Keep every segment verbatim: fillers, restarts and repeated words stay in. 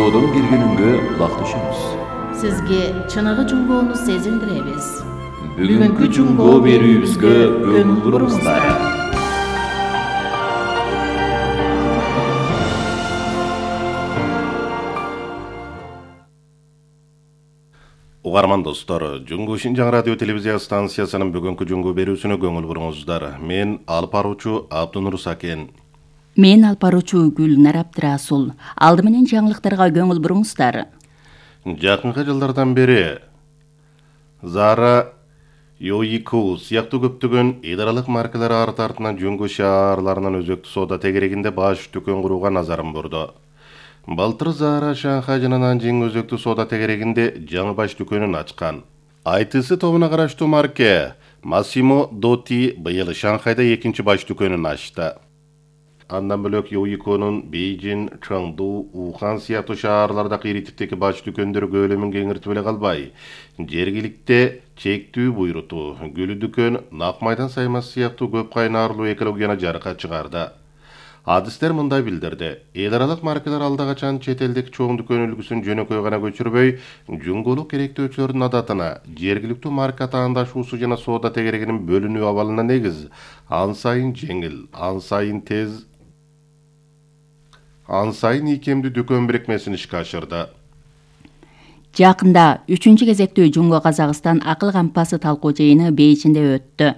Жунгоодон бир күнүнгө улак түшөбүз. Сизге чыныгы жунгоону сезилдиребиз. Бүгүнкү жунгоо берүүбүзгө көңүл буруңуздар. Угарман достор, Жунгу Шинжаң радио телевизия станциясынын бүгүнкү жунгу берүүсүнө көңүл буруңуздар. Мен алып баруучу Абдунур Сакен. Мен алып баруучу Гүлнар Абдрасул. Алды менен жаңылыктарга көңүл буруңуздар. Жакынкы жылдардан бери Zara, Yoiku сыяктуу көптөгөн идаралык маркалар арт артынан жунгу шаарларынын өзөктүү соода тегерегинде баш дүкөн курууга назарын бурду. Былтыр Zara Шанхай жана Нанжиң өзөктүү соода тегерегинде жаңы баш дүкөнүн ачкан. ай ти си тобуна караштуу марке Massimo Dutti быйыл Шанхайда экинчи баш дүкөнүн ачты. Андан бөлөк Yoiko'нун Бейжин, Чоңду, Ухан сыяктуу шаарларда кыйритиптеги баш дүкөндөр көлөмүн кеңиртип эле калбай, жергиликте чектүү буйрутуу, гүлү дүкөн, нак майдан саймасы сыяктуу көп кайнарлуу экологияны жарыкка чыгарды. Адистер мындай билдирди. Эл аралык маркалар алда качан чет элдик чоң дүкөн үлгүсүн жөнөкөй гана көчүрбөй, жунгулук керектөөчүлөрдүн адатына, жергиликтүү марка таандашуусу жана соода тегерегинин бөлүнүү абалына негиз, ан сайын жеңил, ан сайын тез, ан сайын ийкемдүү дүкөн бирикмесин ишке ашырды. Жакында үчүнчү кезектүү Жунго Казакстан акыл кампасы талкуу жыйыны Бейжинде өттү.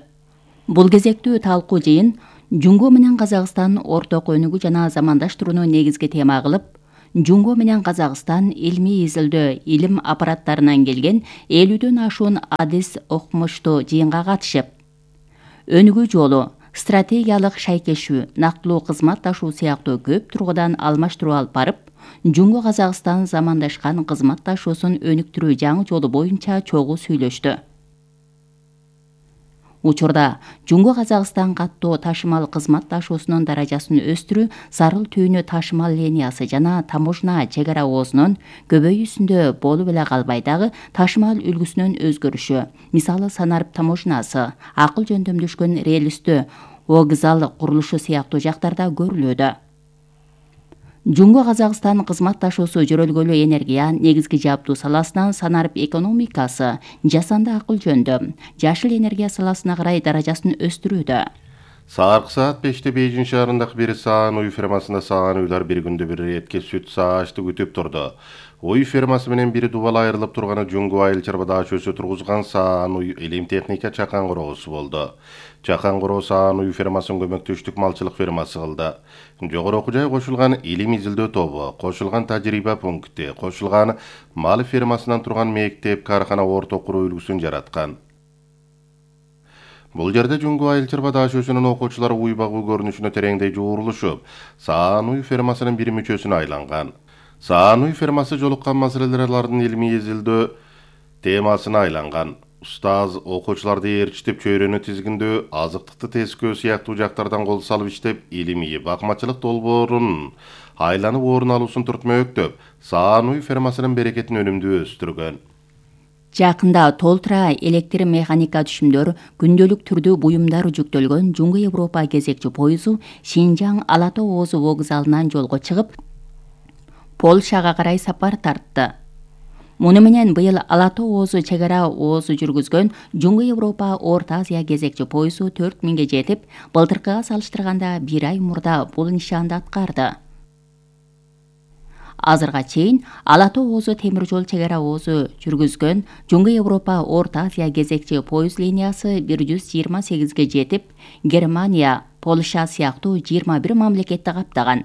Бул кезектүү талкуу жыйын Жунго менен Казакстан орток өнүгүү жана замандаштырууну негизги тема кылып, Жунго менен Казакстан илмий изилдөө илим аппараттарынан келген элүүдөн ашуун адис окумуштуу жыйынга катышып, өнүгүү жолу, стратегиялык шайкешүү, нактылуу кызматташуу сыяктуу көп тургудан алмаштыруу алып барып, Жунго Казакстан замандашкан кызматташуусун өнүктүрүү жаңы жолу боюнча чогуу сүйлөштү. Учурда Жунго Казакстан каттоо ташымал кызматташуусунун даражасын өстүрүү Сарыл түйүнү ташымал линиясы жана таможня чек ара оозунун көбөйүүсүндө болуп эле калбай дагы ташымал үлгүсүнүн өзгөрүшү, мисалы Санарып таможнясы, акыл жөндөмдөшкөн рельстүү вокзал курулушу сыяктуу жактарда көрүлүүдө. Жунго Казакстан кызматташуусу жөрөлгөлүү энергия, негизги жабдуу саласынан Санарып экономикасы, жасанды акыл жөндөм, жашыл энергия саласына карай даражасын өстүрүүдө. Сааркы саат беште Бейжин шаарындагы бир саан уй фермасында саан уйлар бир күндө бир этке сүт саашты күтүп турду. Уй фермасы менен бир дубал айрылып турганы Жунго айыл чарба даашөсү тургузган саан уй элем техника чакан короосу болду. Чакан короо саан уй фермасын көмөктөштүк малчылык фермасы кылды. Жогору окуу жай кошулган илим изилдөө тобу, кошулган тажрыйба пункти, кошулган мал фермасынан турган мектеп, каркана орток куруу үлгүсүн жараткан. Бул жерде Жунго айыл чарба даашөсүнүн окуучулары уй багуу көрүнүшүнө тереңдей жуурулушуп, саан уй фермасынын бир мүчөсүнө айланган. Саан уй фермасы жолуккан маселелердин илимий изилдөө темасына айланган. Устаз окуучуларды ээрчитип чөйрөнү тизгиндөө, азыктыкты тескөө сыяктуу жактардан кол салып иштеп, илимий бакмачылык долбоорун айланып орун алуусун түртмөктөп, саан уй фермасынын берекетин өнүмдүү өстүргөн. Жакында толтура электр механика түшүмдөр, күндөлүк түрдүү буюмдар жүктөлгөн Жунго Европа кезекчи пойузу Шинжаң Ала Тоо Оозу вокзалынан жолго чыгып, Польшага карай сапар тартты. Муну менен быйыл Ала Тоо Оозу чек ара оозу жүргүзгөн Жунго Европа Орто Азия кезекчи пойузу төрт миңге жетип, былтыркыга салыштырганда бир ай мурда бул нишанды аткарды. Азырга чейин Ала Тоо Оозу темир жол чек ара оозу жүргүзгөн Жунго Европа Орто Азия кезекчи пойуз линиясы бир жүз жыйырма сегизге жетип, Германия, Польша сыяктуу жыйырма бир мамлекетти каптаган.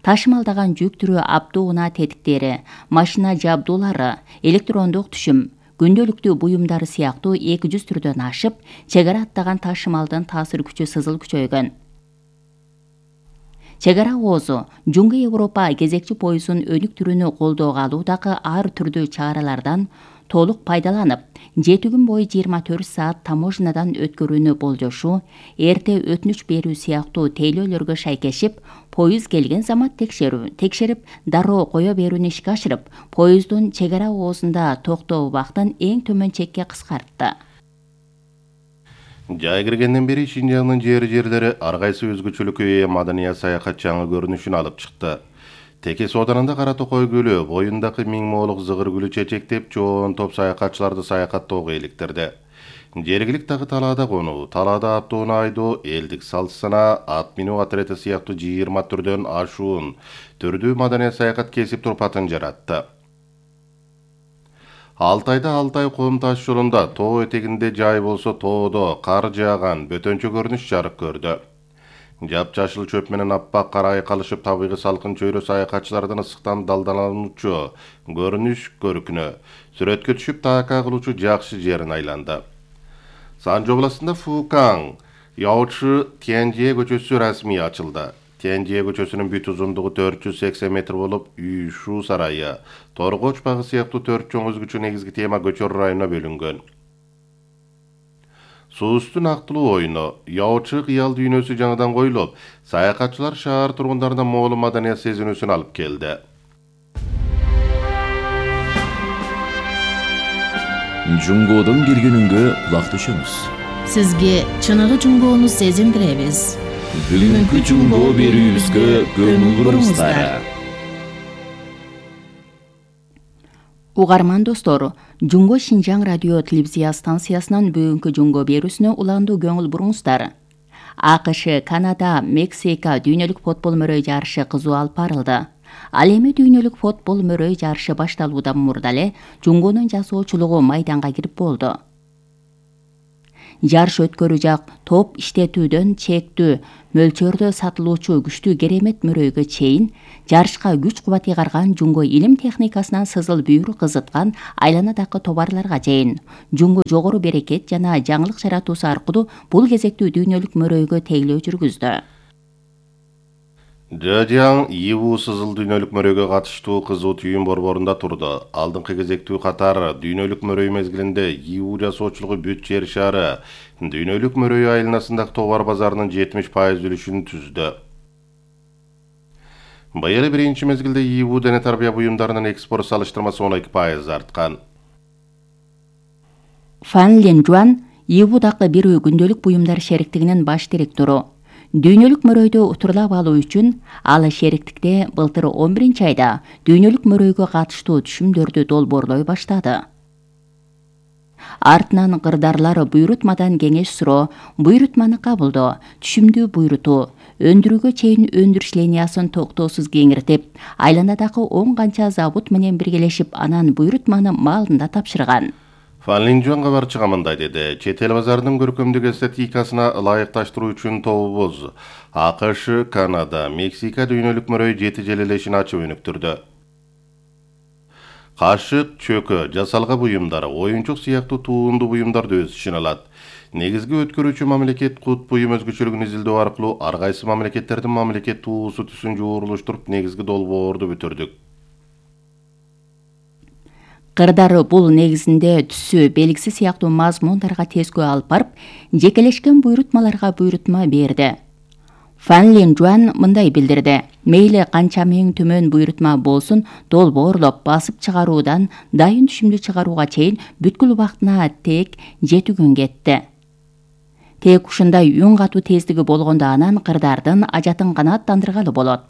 Ташымалдаган жүк түрү аптуу унаа тетиктери, машина жабдуулары, электрондук түшүм, күндөлүктүү буюмдары сыяктуу эки жүз түрдөн ашып, чек ара аттаган ташымалдын таасир күчү сызыл күчөйгөн. Чек ара оозу Жунго Европа кезекчи пойузун өнүктүрүүнү колдоого алуудагы ар түрдүү чаралардан толук пайдаланып, жети күн бою жыйырма төрт саат таможнядан өткөрүүнү болжошуу, эрте өтүнүч берүү сыяктуу тейлөөлөргө шайкешип, поюз келген замат текшерүү, текшерип, дароо кое берүүнү ишке ашырып, поюздун чек ара оозунда токтоо убактын эң төмөн чекке кыскартты. Жай киргенден бери Шинжаңдын жери жерлери ар кайсы өзгөчөлүккө ээ маданий саякат жаңы көрүнүшүн алып чыкты. Теке сооданында Кара Токой көлү боюндагы миң моолук зыгыр гүлү чечектеп, чоң топ саякатчыларды саякаттоого иликтирди. Жергиликтеги талаада конуу, талаада аттууну айдоо, элдик салт сана, ат минүү отрети сыяктуу жыйырма түрдөн ашуун түрдүү маданий саякат кесип турпатын жаратты. Алтайда Алтай ком таш жолунда тоо этегинде жай болсо тоодо кар жааган бөтөнчө көрүнүш жарык көрдү. Жапжашыл чөп менен аппак кар айкалышып табигый салкын чөйрө саякатчылардын ысыктан далдалануучу көрүнүш көркүнө сүрөткө түшүп таакка кылуучу жакшы жерин айланды. Санжо областында Фукаң Яочы Тянжие көчөсү расмий ачылды. Тянжие көчөсүнүн бүт узундугу төрт жүз сексен метр болуп, үй, шуу сарайы, Торгоч багы сыяктуу төрт чоң өзгөчө негизги тема көчөр районуна бөлүнгөн. Суустун актылуу оюну, Яочы кыял дүйнөсү жаңыдан коюлуп, саякатчылар шаар тургундарына моолу маданият сезинүүсүн алып келди. Жунгодон бир күнүнгө кулак түшүңүз. Сизге чыныгы жунгоону сезиндиребиз. Бүгүнкү жунгоо берүүбүзгө көңүл буруңуздар. Угарман достор, Жунго Шинжаң радио телевизия станциясынан бүгүнкү жунго берүүсүнө уландуу көңүл буруңуздар. АКШ, Канада, Мексика дүйнөлүк футбол мөрөй жарышы кызуу алып барылды. Ал эми дүйнөлүк футбол мөрөй жарышы башталуудан мурда эле жунгонун жасоочулугу майданга кирип болду. Жарыш өткөрүү жак топ иштетүүдөн чектүү мөлчөрдө сатылуучу күчтүү керемет мөрөйгө чейин жарышка күч кубат ыйгарган жунго илим техникасынан сызыл бүйүр кызыткан айланадагы товарларга чейин жунго жогору берекет жана жаңылык жаратуусу аркылуу бул кезектүү дүйнөлүк мөрөйгө тейлөө жүргүздү. Жадяң Иву сызыл дүйнөлүк мөрөйгө катыштуу кызуу түйүн борборунда турду. Алдыңкы кезектүү катар дүйнөлүк мөрөй мезгилинде Иву жасоочулугу бүт жер шары дүйнөлүк мөрөй айланасындагы товар базарынын жетимиш пайыз үлүшүн түздү. Быйыл биринчи мезгилде Иву дене тарбия буюмдарынын экспорт салыштырмасы он эки пайыз арткан. Фан Ленжуан Ивудагы бир күндөлүк буюмдар шериктигинин баш директору. Дүйнөлүк мөрөйдү утурлап алуу үчүн ал шериктикте былтыр он биринчи айда дүйнөлүк мөрөйгө катыштуу түшүмдөрдү долбоорлой баштады. Артынан кырдарлар буйрутмадан кеңеш суроо, буйрутманы кабылдоо, түшүмдүү буйрутуу, өндүрүүгө чейин өндүрүш линиясын токтоосуз кеңиртип, айланадагы он канча завод менен биргелешип анан буйрутманы маалында тапшырган. Фан Линжуан кабарчыга мындай деди: чет эл базарынын көркөмдүк эстетикасына ылайыкташтыруу үчүн тобубуз АКШ, Канада, Мексика дүйнөлүк мөрөй жети жыл элешин ачып өнүктүрдү. Кашык, чөкө, жасалга буюмдары, оюнчук сыяктуу туулундуу буюмдарды өз ичине алат. Негизги өткөрүүчү мамлекет кут буюм өзгөчөлүгүн изилдөө аркылуу ар кайсы мамлекеттердин мамлекет туусу түсүн жууруштуруп негизги долбоорду бүтүрдүк. Кырдары бул негизинде түсү белгиси сыяктуу мазмундарга тескөө алып барып, жекелешкен буйрутмаларга буйрутма берди. Фан Ленжуан мындай билдирди: мейли канча миң төмөн буйрутма болсун, долбоорлоп басып чыгаруудан дайын түшүмдү чыгарууга чейин бүткүл убактына тек жети күн кетти. Тек ушундай үн катуу тездиги болгондо анан кырдардын ажатын канааттандыргалы болот.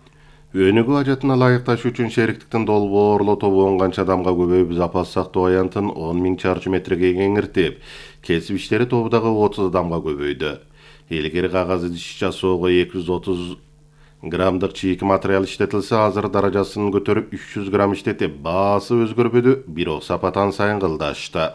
Өнүгүү ажатына ылайыкташ үчүн шериктиктин долбоорлоо тобу он канча адамга көбөйүп, запас сактоо аянтын он миң чарчы метрге кеңиртип, кесип иштери тобу дагы отуз адамга көбөйдү. Илгери кагаз идиш жасоого эки жүз отуз граммдык чийки материал иштетилсе, азыр даражасын көтөрүп үч жүз грамм иштетип, баасы өзгөрбөдү, бирок сапатан сайын кылдашты.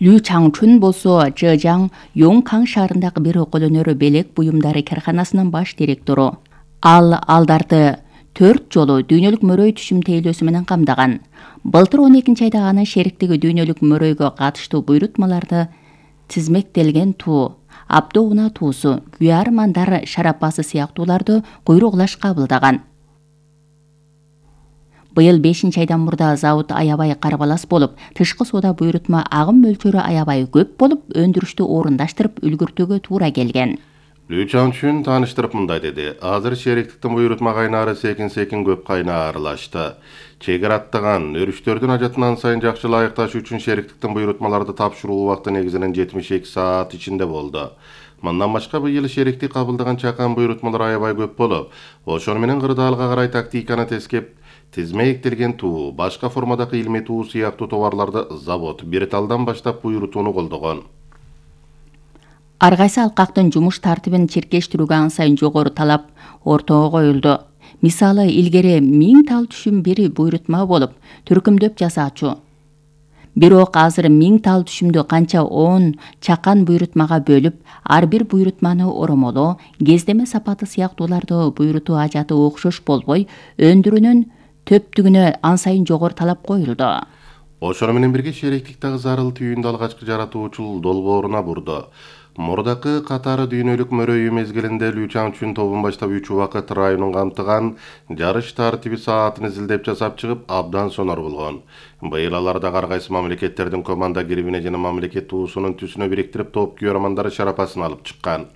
Лю Чаңчун болсо Чжэжяң Йонгкаң шаарындагы бир колөнөр белек буюмдары карканасынын баш директору. Ал алдарды төрт жолу дүйнөлүк мөрөй түшүм тейлөөсү менен камдаган. Былтыр он экинчи айда анын шериктиги дүйнөлүк мөрөйгө катыштуу буйрутмаларды тизмектелген туу, абдо уна туусу, күйар мандар шарапасы сыяктууларды куйругулаш кабылдаган. Быйыл бешинчи айдан мурда завод аябай карбалас болуп, тышкы соода буйрутма агым мөлчөрү аябай көп болуп, өндүрүштү орундаштырып үлгүртүүгө туура келген. Лю Чаңчун тааныштырып мындай деди: азыр шериктиктин буйрутма кайнаары секин-секин көп кайнаарлашты. Чегер аттаган өрүштөрдүн ажатынан сайын жакшы ылайыкташ үчүн шериктиктин буйрутмаларды тапшыруу убакыты негизинен жетимиш эки саат ичинде болду. Мындан башка быйыл шериктик кабылдаган чакан буйрутмалар аябай көп болуп, ошону менен кырдаалга карай тактиканы тескеп, тизмектелген туу, башка формадагы илмий туу сыяктуу товарларды завод бир талдан баштап буйрутууну колдогон. Ар кайсы алкактын жумуш тартибин чиркештирүүгө ан сайын жогору талап ортого коюлду. Мисалы, илгери миң тал түшүм бир буйрутма болуп, түркүмдөп жасаачу. Бирок азыр миң тал түшүмдү канча он чакан буйрутмага бөлүп, ар бир буйрутманы оромолоо, кездеме сапаты сыяктууларды буйрутуу ажаты окшош болбой, өндүрүүнүн төптүгүнө ан сайын жогору талап коюлду. Ошону менен бирге шериктиктеги зарыл түйүндү алгачкы жаратуучул долбооруна бурду. Мурдакы катары дүйнөлүк мөрөйүү мезгилинде Лю Чаңчун тобун баштап үч убакыт районун камтыган жарыш тартиби саатын изилдеп жасап чыгып абдан сонор болгон. Быйыл аларда ар кайсы мамлекеттердин команда гербине жана мамлекет туусунун түсүнө бириктирип топ күйөрмандары шарапасын алып чыккан.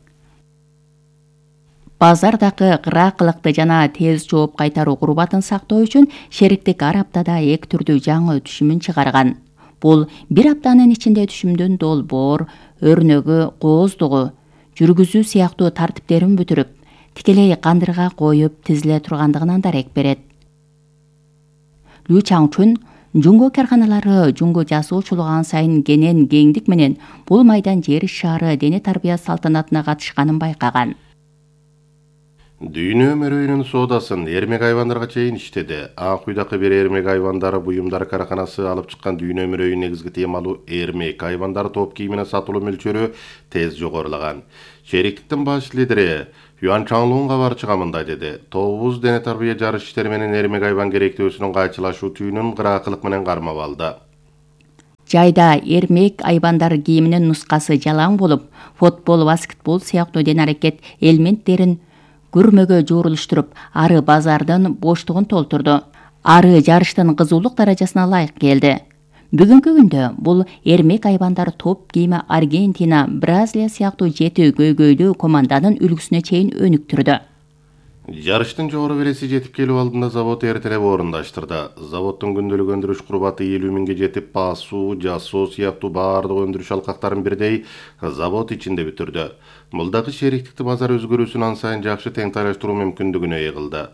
Базардагы кыракылыкты жана тез жооп кайтаруу курбатын сактоо үчүн шериктик ар аптада эки түрдүү жаңы түшүмүн чыгарган. Бул бир аптанын ичинде түшүмдүн долбоор, өрнөгү, кооздугу, жүргүзүү сыяктуу тартиптерин бүтүрүп, тикелей кандырга коюп тизиле тургандыгынан дарек берет. Лю Чаңчун жунго карканалары жунго жасоочулугу ан сайын кенен кеңдик менен бул майдан жер шаары дене тарбия салтанатына катышканын байкаган. Дүйнө мөрөйүнүн соодасын эрмек айвандарга чейин иштеди. Ак уйдакы бир эрмек айвандары буюмдар карканасы алып чыккан дүйнө мөрөйүнүн негизги темалуу эрмек айвандар топ кийимине сатылуу мөлчөрү тез жогорулаган. Шериктиктин баш лидери Юан Чаңлун кабарчыга мындай деди: "Тобубуз дене тарбия жарыш иштери менен эрмек айван керектөөсүнүн кайчылашуу түйүнүн кыраакылык менен кармап алды. Жайда эрмек айвандар кийиминин нускасы жалаң болуп, футбол, баскетбол сыяктуу дене аракет элементтерин көрмөгө жоорулуштуруп, ары базардын боштугун толтурду. Ары жарыштын кызуулук даражасына ылайык келди. Бүгүнкү күндө бул эрмек айвандар топ кийими Аргентина, Бразилия сыяктуу жети көйгөйлүү команданын үлгүсүнө чейин өнүктүрдү. Жарыштын жогору береси жетип келүү алдында завод эртелеп орундаштырды. Заводдун күндөлүк өндүрүш курбаты элүү миңге жетип, басуу, жасоо сыяктуу баардык өндүрүш алкактарын бирдей завод ичинде бүтүрдү. Бул дагы шериктикти базар өзгөрүүсүн ан сайын жакшы теңтайлаштыруу мүмкүндүгүнө ээ кылды.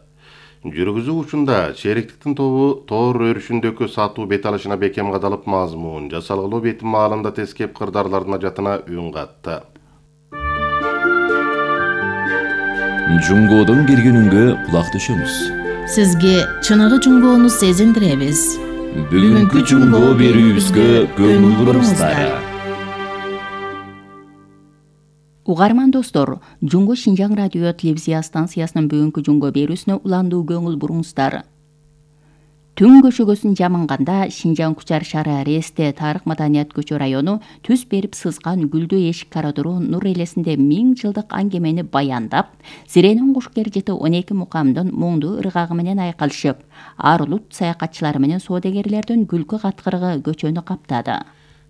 Жүргүзүү учунда шериктиктин тобу тоор өрүшүндөгү сатуу бет алышына бекем кадалып, мазмун, жасалгылоо бетин маалында тескеп кырдаарлардын ажатына үн катты. Жунгодон бир күнүнгө кулак түшөбүз. Сизге чыныгы жунгоону сезиндиребиз. Бүгүнкү жунго берүүбүзгө көңүл буруңуздар. Угарман достор, Жунго Шинжаң радио телевизия станциясынын бүгүнкү жунго берүүсүнө уландуу көңүл буруңуздар. Түн көшөгөсүн жамынганда Шинжаң Кучар шаары Ресте тарых маданият көчө району түз берип сызган гүлдүү эшик коридору нур элесинде миң жылдык аңгемени баяндап, Зиренин кушкер жыты он эки мукамдын муңдуу ыргагы менен айкалышып, ар улут саякатчылар менен соодагерлердин күлкү каткырыгы көчөнү каптады.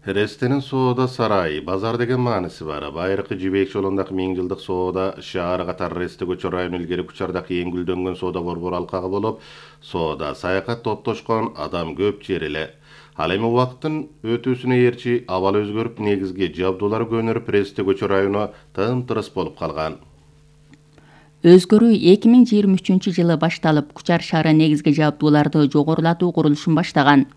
Рестенин соода сарайы, базар деген мааниси бар. Байыркы Жибек жолундагы миң жылдык соода шаары катары Ресте көчө району илгери Кучардагы эң гүлдөнгөн соода борбор алкагы болуп, соода, саякат топтошкон адам көп жер эле. Ал эми убакыттын өтүүсүнө ээрчи абал өзгөрүп, негизги жабдуулар көнөрүп, Ресте көчө району тым-тырыс болуп калган. Өзгөрүү эки миң жыйырма үчүнчү жылы башталып, Кучар шаары негизги жабдууларды жогорулатуу курулушун баштаган.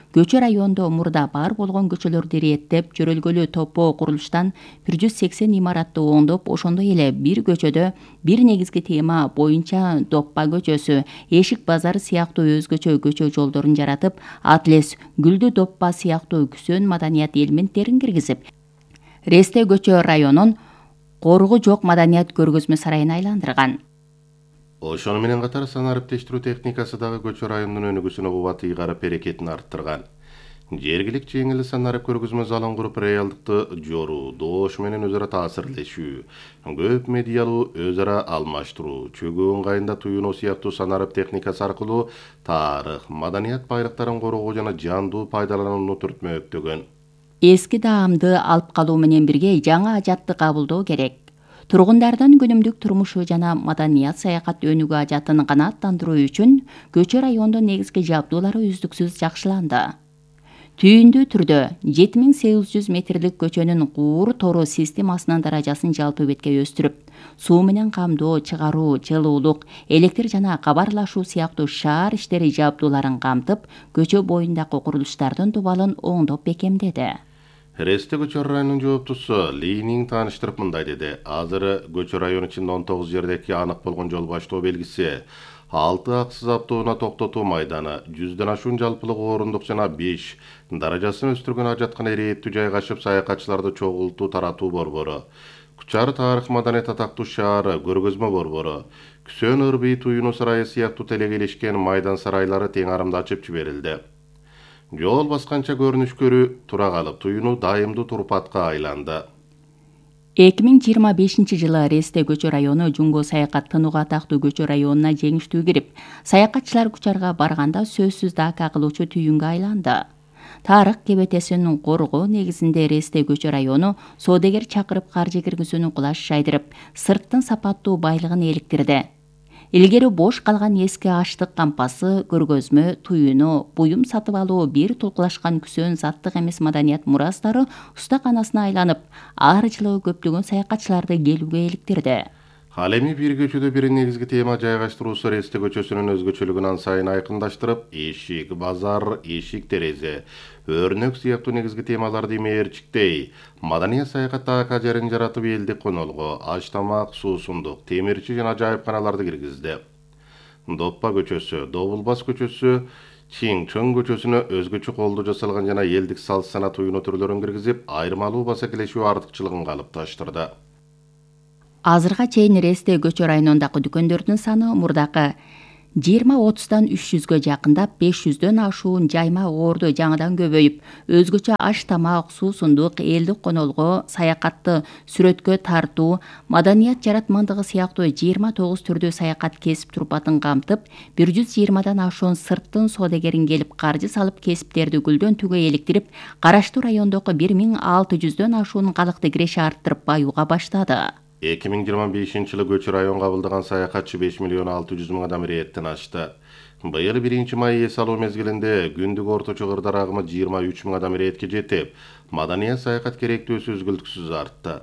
Көчө райондо мурда бар болгон көчөлөрдү иреттеп, жөрөлгөлүү топо курулуштан бир жүз сексен имаратты оңдоп, ошондой эле бир көчөдө бир негизги тема боюнча Доппа көчөсү, Эшик базары сыяктуу өзгөчө көчө жолдорун жаратып, Атлес, Гүлдү Доппа сыяктуу күсөн маданият элементтерин киргизип, Ресте көчө районун коругу жок маданият көргөзмө сарайына айландырган. Ошону менен катар санариптештирүү техникасы дагы көчө районунун өнүгүүсүнө кубат ыйгарып, берекетин арттырган. Жергилик жеңил санарип көргөзмө залын куруп, реалдыкты жоруу, доош менен өзара таасирлешүү, көп медиалуу өз ара алмаштыруу, чөгүү ыңгайында туюнуу сыяктуу санарип техникасы аркылуу тарых, маданият байлыктарын коргоо жана жандуу пайдаланууну түртмөктөгөн. Эски даамды алып калуу менен бирге жаңы ажатты кабылдоо керек. Тургундардын күнүмдүк турмушу жана маданият саякат өнүгүү ажатын канааттандыруу үчүн көчө райондун негизги жабдуулары үздүксүз жакшыланды. Түйүндүү түрдө жети миң сегиз жүз метрлик көчөнүн куур тору системасынын даражасын жалпы бетке өстүрүп, суу менен камдоо, чыгаруу, жылуулук, электр жана кабарлашуу сыяктуу шаар иштери жабдууларын камтып, көчө боюндагы курулуштардын дубалын оңдоп бекемдеди. Ресте көчө районунун жооптусу Линин тааныштырып мындай деди. Азыр көчө район ичинде он тогуз жердеги анык болгон жол баштоо белгиси, алты аксыз автоунаа токтотуу майданы, жүздөн ашуун жалпылык орундук жана беш даражасын өстүргөн ажаткана ирээттүү жайгашып, саякатчыларды чогултуу таратуу борбору, Кучар тарых маданият атактуу шаары көргөзмө борбору, Күсөн ырбый туюну сарайы сыяктуу телегелешкен майдан сарайлары тең арымда ачып жиберилди. Жол басканча көрүнүшкөрү тура калып, туюну дайымдуу турпатка айланды. эки миң жыйырма бешинчи жылы Ресте көчө району Жумго саякаттанууга атактуу көчө районуна жеңиштүү кирип, саякатчылар Кучарга барганда сөзсүз дака кылуучу түйүнгө айланды. Тарых кебетесин коргоо негизинде Ресте көчө району соодагер чакырып каржы киргизүүнү кулаш жайдырып, сырттын сапаттуу байлыгын эликтирди. Илгери бош калган эски аштык кампасы, көргөзмө, туюну, буюм сатып алуу, бир тулкулашкан Күсөн заттык эмес маданият мурастары устаканасына айланып, ар жылы көптөгөн саякатчыларды келүүгө иликтирди. Ал эми бир көчөдө бир негизги тема жайгаштыруусу Ресте көчөсүнүн өзгөчөлүгүн ан сайын айкындаштырып, эшик, базар, эшик терезе, өрнөк сыяктуу негизги темаларды имээрчиктей, маданият саякатта ака жерин жаратып элдик конолго, аш тамак, суусундук, темирчи жана жайыпканаларды киргизди. Доппа көчөсү, Добулбас көчөсү, Чиң-Чоң көчөсүнө өзгөчө колдо жасалган жана элдик салт сана туюну түрлөрүн киргизип, айырмалуу басакелешүү артыкчылыгын калыпташтырды. Азырга чейин Ресте көчө районундагы дүкөндөрдүн саны мурдакы жыйырма отуздан үч жүзгө жакындап, беш жүздөн ашуун жайма орду жаңыдан көбөйүп, өзгөчө аш тамак, суусундук, элдик конолго, саякатты сүрөткө тартуу, маданият жаратмандыгы сыяктуу жыйырма тогуз түрдүү саякат кесип турпатын камтып, бир жүз жыйырмадан ашуун сырттын соодагерин келип каржы салып кесиптерди гүлдөн түгө эликтирип, караштуу райондогу бир миң алты жүздөн ашуун калыкты киреше арттырып баюуга баштады. эки миң жыйырма бешинчи жылы көчө район кабылдаган саякатчы беш миллион алты жүз миң адам ирээттен ашты. Быйыл биринчи май эс алуу мезгилинде күндүк орточо кырдар агымы жыйырма үч миң адам ирээтке жетип, маданият саякат керектөөсү үзгүлтүксүз артты.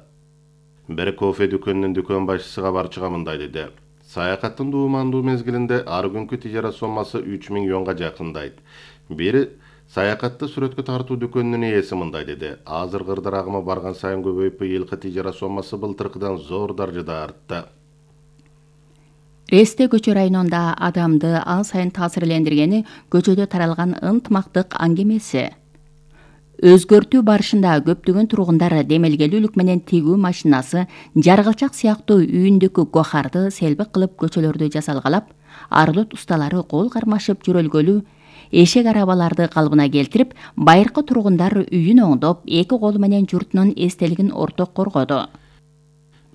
Бир кофе дүкөнүнүн дүкөн башчысы кабарчыга мындай деди. Саякаттын дуумандуу мезгилинде ар күнкү тижарат соммасы үч миң юанга жакындайт. Бир саякатты сүрөткө тартуу дүкөнүнүн ээси мындай деди. Азыр кырдар агымы барган сайын көбөйүп, быйылкы тижарат соммасы былтыркыдан зор даражада артты. Ресте көчө районунда адамды ан сайын таасирлендиргени көчөдө таралган ынтымактык аңгемеси. Өзгөртүү барышында көптөгөн тургундар демелгелүүлүк менен тигүү машинасы, жаргылчак сыяктуу үйүндүкү гохарды селбик кылып көчөлөрдү жасалгалап, арлыт усталары кол кармашып жөрөлгөлүү эшек арабаларды калыбына келтирип, байыркы тургундар үйүн оңдоп, эки колу менен журтунун эстелигин орток коргоду.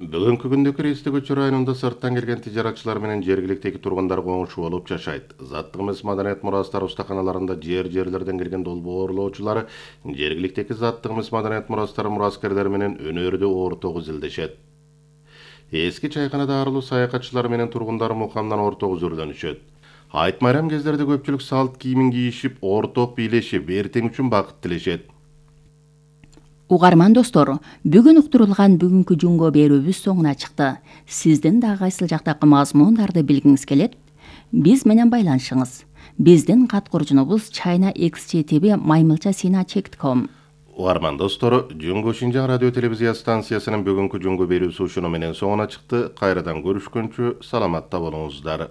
Бүгүнкү күндө Ресте көчө районунда сырттан келген тижаратчылар менен жергиликтеги тургундар коңшу болуп жашайт. Заттык эмес маданият мурастары устаканаларында жер-жерлерден келген долбоорлоочулар жергиликтеги заттык эмес маданият мурастары мураскерлер менен өнөрдө орток изилдешет. Эски чайканада арылуу саякатчылар менен тургундар мукамдан орток үзүрлөнүшөт. Айт майрам кездерде көпчүлүк салт кийимин кийишип, орток бийлешип, эртең үчүн бакыт тилешет. Угарман достор, бүгүн уктурулган бүгүнкү жунго берүүбүз соңуна чыкты. Сиздин да кайсыл жактагы мазмундарды билгиңиз келет? Биз менен байланышыңыз. Биздин кат курчунубуз china x j t v маймылча сина чек точка ком. Угарман достор, Жунго Шинжаң радио телевизия станциясынын бүгүнкү жунго берүүсү ушуну менен соңуна чыкты. Кайрадан көрүшкөнчө саламатта болуңуздар.